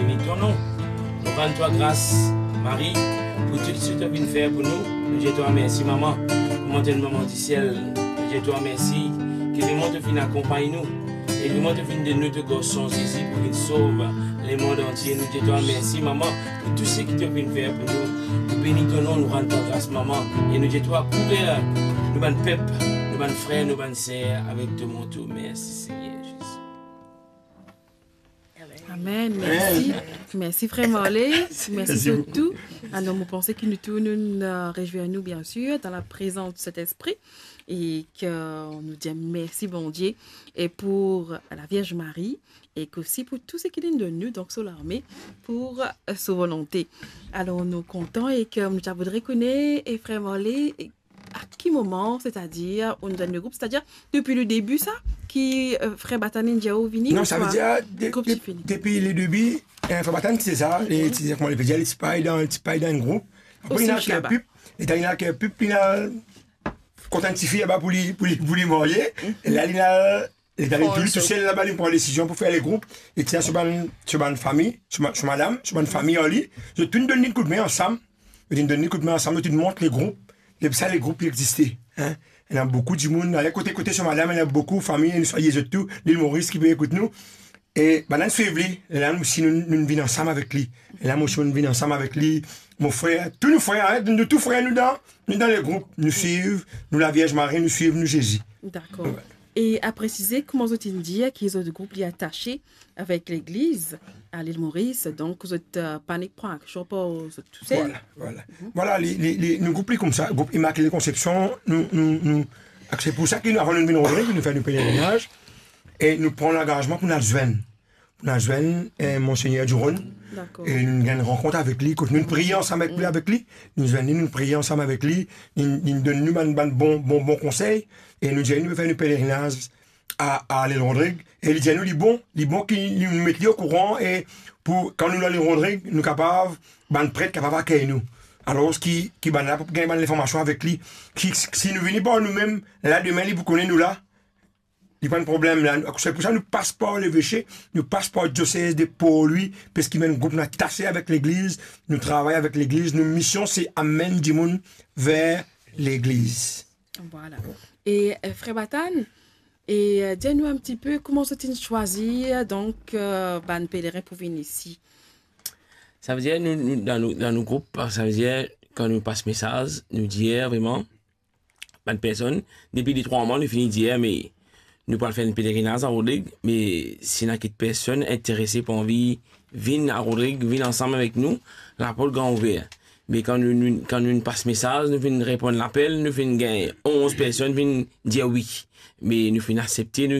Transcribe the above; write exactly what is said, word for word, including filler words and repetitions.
Beni to nom. Nou rann twa gras, Mari, pou tou seki to finn fer pou nou. Nou dir twa mersi, mama, kouma to enn mama disiel. Nou dir twa mersi ki lemond to finn akonpagn nou. E lemond to finn donn nou to garson Zezi pou vinn sov lemond antie. Nou dir twa mersi, mama, pou tou seki to finn fer pou nou. Nou beni to nom, nou rann twa gras, mama. E nou dir twa kouver nou bann pep, nou bann frer, nou bann ser avek to manto. Mersi, Segner Zezi. Amen. Mersi. Mersi, frer Marley. Mersi. Mersi zot tou. Alor, mo panse ki nou tou, nou, euh, rezwir nou, bien sûr, dans la présence de Saint-Esprit. E ki nou dir mersi, Bondie, e pou la Vierge Marie, e ki osi pou tou seki li donn nou, donk, so larme, pou, euh, so volonte. Alor, nou kontan e ki nou ti voudre kone, e frer Marley, e a ki moman, setadir, ou inn zwenn le group, setadir depi le debi sa, ki, euh, frer Batane inn dir ou vini, Non, sa ouswa vedir, de-, group de-, ti fini? Depi le debi, eh, frer Batane, se sa, e ti, kouma li pe dir, li ti pa'le dan, li ti pa'le dan enn group. Apre, Osi li ena ker laba. Pip, li ena ker pip, li ena kontan tifi laba pou li, pou li, pou li marye. Mhm. E la, li ena, li ena Fon tou, li so- tousel laba, li pran desizion pou fer le group. Li ti ena so bann, so bann fami, so ma-, so madam, so bann fami ar li. Zot tou donn li koudme ansam. Zot inn donn li koudme ansam, zot inn mont le group. Depi sa, le group li existe, hein. Ena boukou dimoun, ale kote, kote so madam, ena boukou fami, nou salye zot tou, Lil Moris ki pe ekout nou. E bann-la inn swiv li, e la nou osi nou, nou vinn ansam avek li. E la mo osi mo vinn ansam avek li, mo frer, tou nou frer, hein, nou tou frer, nou dan, nou dan le group, nou swiv nou Lavierz Mari, nou swiv nou Zezi. Dakor. Wi. E a presize, kouma zot inn dir ki zot group li atase avek legliz a Lil Moris, donk zot, euh, pa nek pran aksion par zot tousel. Vwala, vwala. Mhm. Vwala, li, li, li, nou group li koumsa, group Immaculée Conception, nou, nou, nou, se pou sa ki nou, avan nou vinn Rodrig, nou fer nou pelerinaz, e nou pran langazman pou nou al zwenn, pou nou al zwenn, eh, Monsegner Duron. Dakor. E nou gagn rankont avek li, kot nou priye ansam avek li, Mm. avek li, nou zwenn li, nou priye ansam avek li, li, li donn nou bann, bann bon, bon, bon konsey, e nou dir nou fer nou pelerinaz a, a Lil Rodrig, e li dir nou li bon, li bon ki nou met li okouran, e pou, kan nou al Lil Rodrig, nou kapav, bann pret kapav akey nou. Alor ki, ki bannla pou gagn bann linformasion avek li, ki, si nou vini par noumem, la demin li pou kone nou la, li pa enn problem la. Se pou sa nou pas par leveke, nou pas par diosez de Port-Louis, parski nou enn group nou atase avek legliz, nou travay avek legliz, nou mision se amenn dimoun ver legliz. Vwala. E, euh, frer Batane, e, euh, dir nou enn tipe kouma zot inn swazir, donk, euh, bann pelerin pou vinn isi. Savedir nou, nou, dan nou, dan nou group, savedir kan nou pas mesaz, nou dir vreman, bann personn, depi de trwa mwa, nou fini dir, me nou pou al fer enn pelerinaz a Rodrig, me si ena kiksoz personn interese, pou anvi vinn a Rodrig, vinn ansam avek nou, laport gran ouver. Me kan nou, nou, kan nou pas mesaz, nou finn reponn lapel, nou finn gagn onz personn finn dir wi. Me nou finn asepte, nou